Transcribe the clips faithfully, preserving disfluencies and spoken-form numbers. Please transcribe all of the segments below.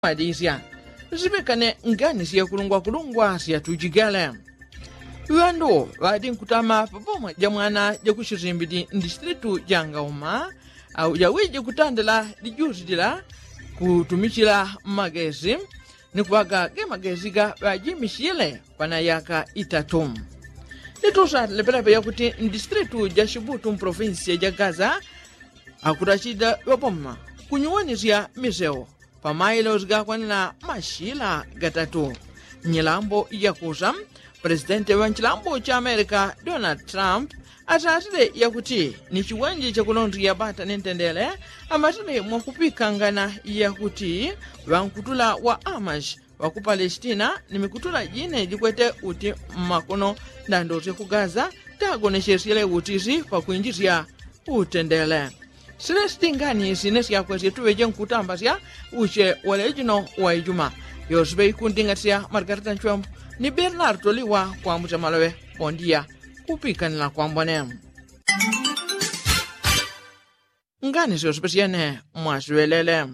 Ŵadisya sipekane ngani syakulungwakulungwa syatujigale. Ŵandu ŵadi nkutama pa boma ja mwana ja kuchizimbidi ndisitilitu ja ngauma, au jawiji kutandila lijusi lila kutumichila magesi ni kuŵaga ge magesi ga ŵajimichile pana yaka itatu. Nitusa lepelepe yakuti ndisitilitu ja chibutu mpolofinsiya ja gaza akutachida ŵaboma kunyuwanisya miseu pa mailosi gakwanila machila gatatu. Nyilambo yakusa, pulesitenti ŵa nchilambo cha amerika donald trump asasile yakuti ni chiwenji chakulondiya bata ni ntendele amatile mwakupikangana yakuti ŵankutula wa amashi ŵa ku palesitina ni mikutula jine jikwete uti mmakono ndandosye ku gaza tagonechesyele utisi pakwinjisya utendele. Silesi tingani sine syakwesye tuŵeje nkutambasya uche waleji no wa ijuma. Yosipe ikundingatisya margarita nchwembo ni bernardo liwa kwambucha maloŵe. Pondiya kupikanila kwambone. Ngani syosipe syene mwasiŵelele.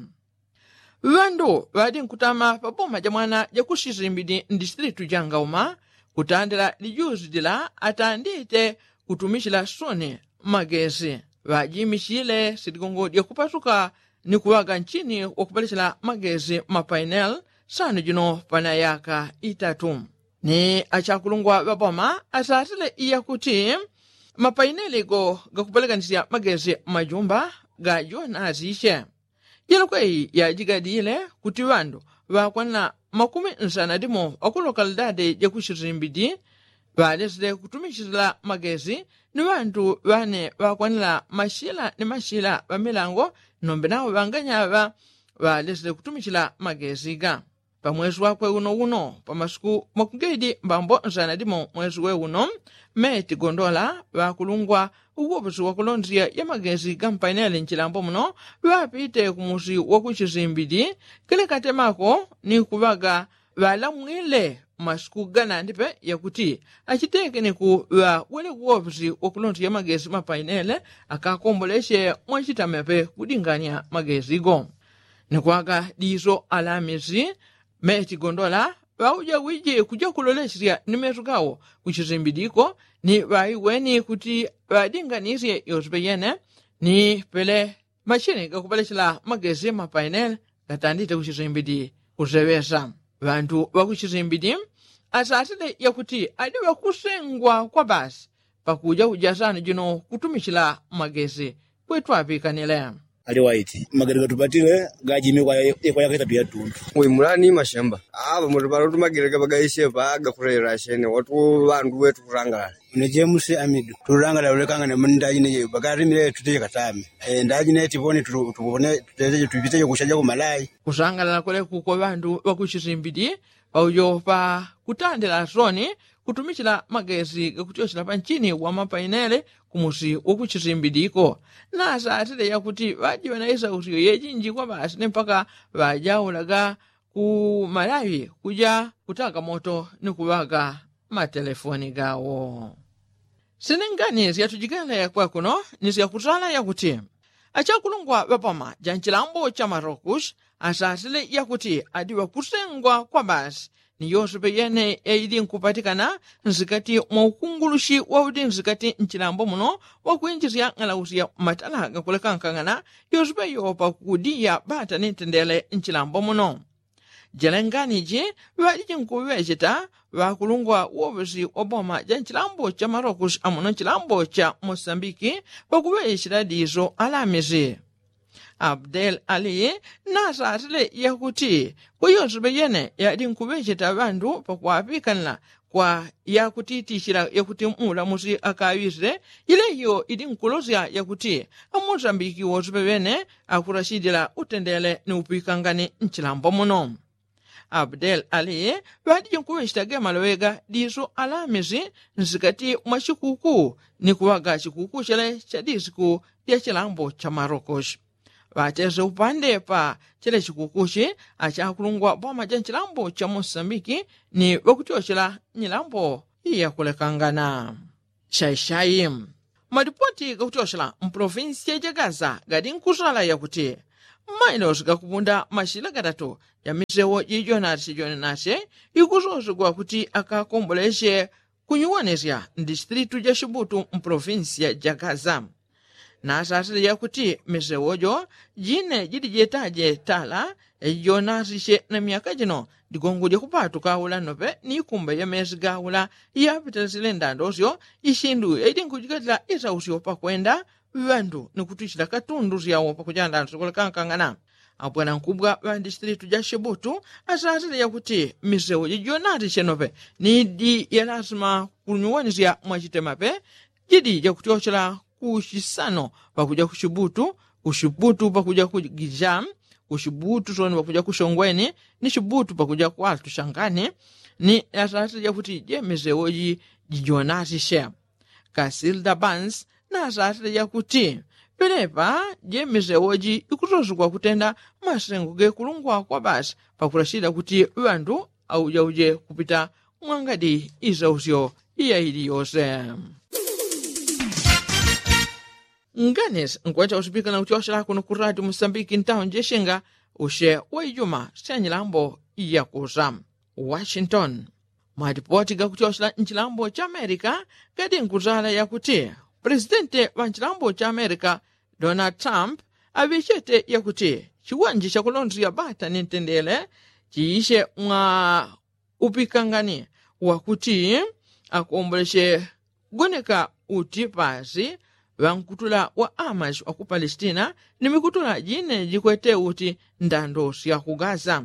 Ŵandu ŵadi nkutama pa boma ja mwana ja kusisimbidi ndisitilitu ja ngauma kutandila lijusi lila atandite kutumichila soni magesi ŵajimichile siligongo lya kupasuka ni kuŵaga nchini wakupalechela magesi mapaineli sano jino pana yaka itatu. Ni achakulungwa ŵa boma asasile iyakuti mapaineli go gakupalekanisya magesi mmajumba ga jona asiche. Jilokwe iyi yajigadile kuti ŵandu ŵakwana makumi nsana limo ŵakulokalidadi ja kuchizimbidi ŵalesile kutumichila magesi ni ŵandu ŵane ŵakwanila machila ni machila ŵamilango nombe nawo ŵanganyaŵa ŵalesile kutumichila magesi ga. Pa mwesi wakwe uno uno pa masiku makugedi mbambo nsana limo mwesi we uno meti gondola ŵakulungwa uwoposi wakulondiya ya magesi ga mpaineli nchilambo muno ŵapite kumusi wakuchisimbidi kile katemako ni kuŵaga ŵalamwile masiku ganandi pe yakuti achiteke ni kuŵa wele uwoposi wakulondiya magesi mapaineli akakomboleche mwachitame pe kudingania magesi go. Ni kwaga diso alamisi meti gondola ŵauja wiji kuja kulolechesya ni mesu gawo kuchisimbidiko ni ŵaiweni kuti ŵadinganisye yosipe yene ni pele machini gakupalechela magesi mapaineli gatandite kuchisimbidi kuseŵesa. Ŵandu ŵakuchisimbidi asasile yakuti adi ŵakusengwa kwa basi pakuja kuja sano jino kutumichila magesi. Kwetu apikanile. Ali waiti magari gatupatile gajime kwa yaka itatu ya tundu. Wimulani mashamba apa mutu pano tumagireka pagaisye pa gakurera chene watu ŵandu wetu kurangalala. Ine jemusi amidu turangalala ulekangane mundajine je pagarimile tuteje katame. Ndajine tipone tupone tuteje tupiteje kushaja kumalai. Kusangalala kwelekuko ŵandu ŵakuchisimbidi paujo pa kutandila soni kutumichila magesi gakutyochela panchini wa mapainele kumusi wakuchisimbidiko. Nasatile yakuti ŵajiŵa na isausyo yejinji kwa basi ni mpaka ŵajaulaga ku malawi kuja kutaka moto ni kuŵaga matelefoni gawo. Sinengani syatujikele kwakuno ni syakusala yakuti achakulungwa ŵapama ja nchilambo cha marokushi asasile yakuti adi ŵakusengwa kwa basi ni yosipe yene yaili nkupatikana nsikati mwa ukungulushi wauti nsikati nchilambo muno wakwinjisya ng'alausya matala gakulekankangana yosipe yopa kudiya bata ni ntendele nchilambo muno. Jele nganiji ŵaliji nkuŵecheta ŵakulungwa woŵesi wa boma ja nchilambo cha marokushi amuno nchilambo cha mosambiki pakuŵecheta diso alamisi. Abdel ali nasatile yakuti kwa yosipe yene yadi nkuŵecheta ŵandu pakuŵapikanila kwa yakutitichila yakuti mulamusi akaŵisile. Ileyo idi nkulosya yakuti amosambiki wosipe ŵene akurachidila utendele ni upikangani nchilambo muno. Abdel ali ŵadije nkuŵecheta ge maloŵe ga diso alamisi nsikati mwa chikuku ni kuŵaga chikuku chele cha disiku lya chilambo cha marokoshi. Ŵatese upande pa chele chikukuchi achakulungwa boma ja nchilambo cha mosambiki ni ŵakutyochela nyilambo yakulekangana. Shaishai malipoti gakutyochela mpolofinsiya ja gaza gadi nkusala yakuti Mmailosi gakupunda mashila gatatu ya misewo jijonasye jonasye ikusosegwa kuti akakomboleche kunyuwanesya mdistritu ja shibutu mpolofinsiya ja gaza. Nasasile yakuti misewo jo jine jili jetaje tala yajijonasisye na myaka jino digongo dyakupatuka aula nope ni ikumba ya mesi gaula yapitila silenda ndosyo ishindu yajilinkujigatila isausyo pakwenda ŵandu ni kutwichila katundu syawo pakuchandana syokolekankangana. Abwanankubwa ŵa ndisitilitu ja shibutu asasile yakuti misewo jijonasisye nope ni idi ya lasima kunyuwanisya mwachitemape jidi jakutyochela ku shisano pakuja ku shibutu, ku shibutu pakuja ku gija, ku shibutu soni pakuja ku shongweni, ni shibutu pakuja ku altu shangani. Ni asasile jakuti je misewo ji jijonasisye. Kasilda bansi nasasile jakuti pelepa je misewo ji ikusosegwa kutenda masengo gekulungwa kwa basi pakulashila kuti ŵandu aujauje kupita mwangadi isausyo iya ili yose. Nganisi nkwecha usipika na kutyoshela kuno ku radio musambiki ntawo njeshenga usye wa ijuma sya nyilambo yakusa. Washington. Malipoti gakutyoshela nchilambo cha amerika gadi nkutala yakuti pulesidenti wa nchilambo cha amerika donald trump aŵechete yakuti chiwanje chakulondesya bata ni ntendele chiisye mwa upikangani wakuti akomboleche goneka uti pasi ŵankutula wa amashi wa ku palestina ni mikutula jine jikwete uti ndando sya ku gaza.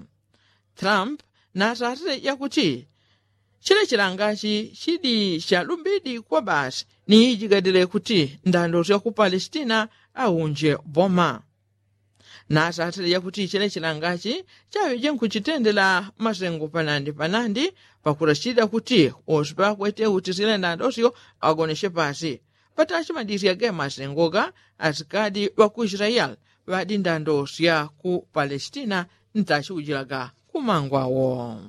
Trump nasasile yakuti chile chilangachi chidi chalumbidi kwa basi ni ijigadile kuti ndando sya ku palestina aunje boma. Nasasile yakuti chile chilangachi chaŵeje nkuchitendela masengo panandi panandi pakulashila kuti wose pakwete uti silenda ndosyo agonesye pasi. Patachi madisya ge masengoga asikadi ŵa ku israeli ŵadi ndando sya ku palestina ntachiujilaga kumangwawo.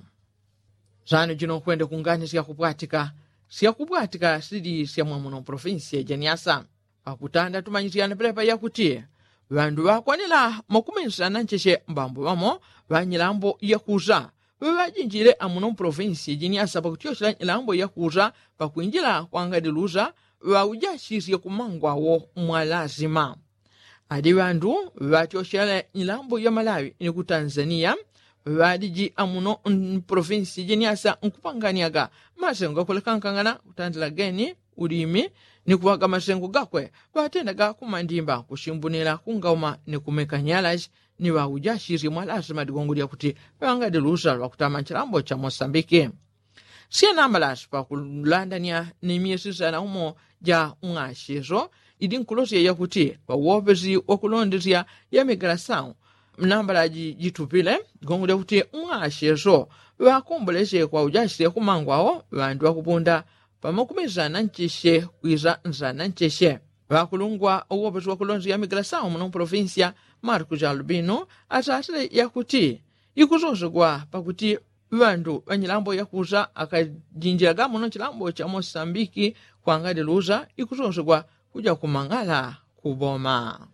Sano jino nkwende kungani syakupwatika syakupwatika sili sya mwamuno provinsi ya janiasa. Pakutanda tumanyisyane pelepa yakuti ŵandu ŵakwanila makumisana ncheche mbambo ŵamo ŵanyilambo yakusa ŵaŵajinjile amuno mpolofinsi jiniasa pakutyoshela nyilambo yakusa pakwinjila kwangadilusa ŵaujashisye kumangwawo mwalasima. Adi ŵandu ŵatyoshela nyilambo ya malawi ni ku tanzania ŵadiji amuno mpolofinsi jiniasa nkupanganiaga masengo gakulekankangana kutandila geni ulimi ni kuŵaga masengo gakwe ŵatendaga kumandimba kushimbunila kungauma ni kumeka nyalashi ni ŵaujashisye mwalasima digongo lyakuti ŵangadilusa lwakutama nchilambo cha mosambiki. Syenambalasi pakulandanya ni myesi sana umo ja mwacheso idi nkulosya yakuti ŵawopesi wakulondesya ya migalasau nambala jitupile gongo lyakuti mwacheso ŵakomboleche kwa ujashisye kumangwawo ŵandu ŵakupunda pamakumi sana ncheche kwisa sana ncheche. Ŵakulungwa uwopesi wakulondesya ya migalasau muno mpolofinsiya marku ja albino asasile yakuti ikusosegwa pakuti ŵandu ŵanyilambo yakusa akajinjilaga muno chilambo cha mosambiki kwangadilusa ikusosegwa kuja kumang'ala kuboma.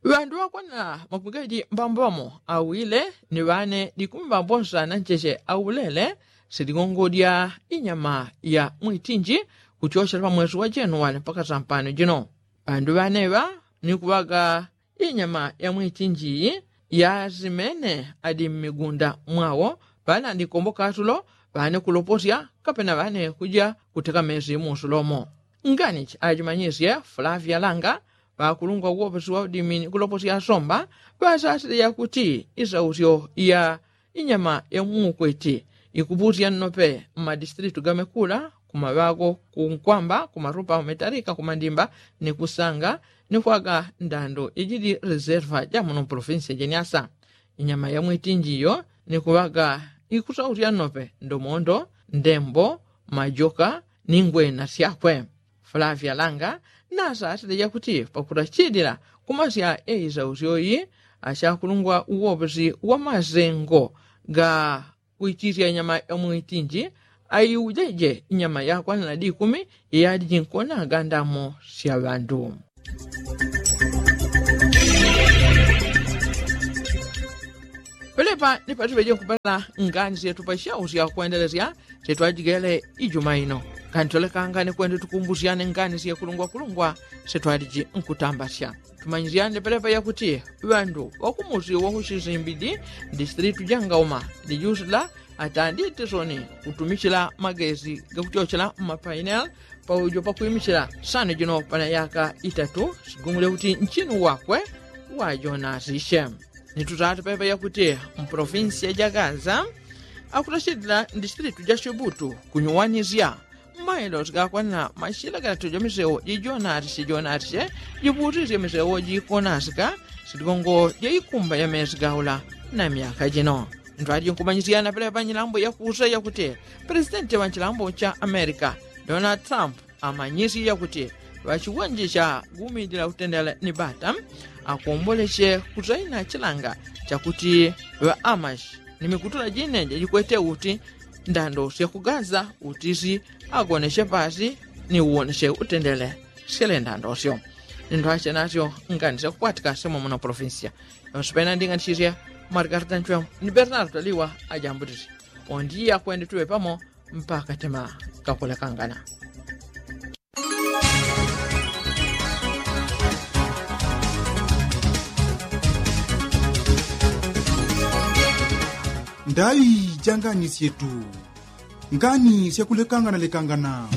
Ŵandu ŵakwanila makumigadi mbambo ŵamo awile ni ŵane dikumi mbambo nsana ncheche aulele siligongodya inyama ya mwitinji kutyoshela pamwesi wa jenuwali mpaka sampano jino. Ŵandu ŵaneŵa ni kuŵaga inyama ya mwitinji iyi yasimene adi mmigunda mwawo ŵane adi nkombo katulo ŵane kuloposya kapena ŵane kuja kuteka mesi musulomo. Nganichi ajimanyisye flavia langa ŵakulungwa uwopesi wa udimi ni kuloposya asomba ŵasasile yakuti isausyo ya inyama ya muukweti ikupusya nnope mmadisitilitu gamekula kumaŵago kunkwamba kumarupa umetalika kumandimba ni kusanga ni kwaga ndando ijili reserva ja muno mpolofinsi ya jeniasa. Inyama ya mwitinji iyo ni kuŵaga ikusausya nnope ndomondo ndembo majoka ni ngwena syakwe. Flavia langa nasasile jakuti pakulachilila kumasya eisausyo iyi achakulungwa uwopesi wa masengo ga kuichisya inyama ya mwitinji aiujeje inyama yakwanila dikumi iyadijinkonaga ndamo sya ŵandu. Pelepa ni patiŵeje nkupela ngani syetu pa syau syakwendelesya syetwajigele ijuma ino. Ngani twelekanga ni kwende tukumbusyane ngani syekulungwakulungwa syetwaliji nkutambasya. Tumanyisyane pelepa yakuti ŵandu ŵakumusi wakusizimbidi, distilitu ja ngauma, ni jusila atandite soni kutumichila magesi gakuchochela mmapainel paujo pakwimichila sano jino pana yaka itatu. Sigungule kuti nchinu wakwe wajonasisye. Ni tutatu pepe yakuti mpolofinsiya ja gaza akutachilila ndisilitu ja sibutu kunyuwanisya mmailo sigakwanila mashila gatatu ja miseo jijonatisye jonatisye jiputisye miseo jikonasika silikongo ja ikumba ya mesi gaula. Na myaka jino ntwali jinkumanyisyana pelepa nyilambo yakusa yakuti presidenti wa nchilambo cha amerika donald trump amanyisye yakuti ŵachiwanje cha gumidila utendela ni bata akomboleche kusaina chilanga chakuti ŵaamashi ni mikutula jine jajikwete uti ndando syakugaza utisi agoneche pasi ni uwoneche utendele syele ndando syo. Ni ntwache nasyo ngani syakukwatika semo muno polofinsiya yonse pena nding'anisisye margarita nchwemo ni bernardo liwa ajambutisi. Ondi akwende tuŵe pamo mpaka tema kakulekangana. Ndaŵi ja ngani syetu ngani syakulekangana lekangana.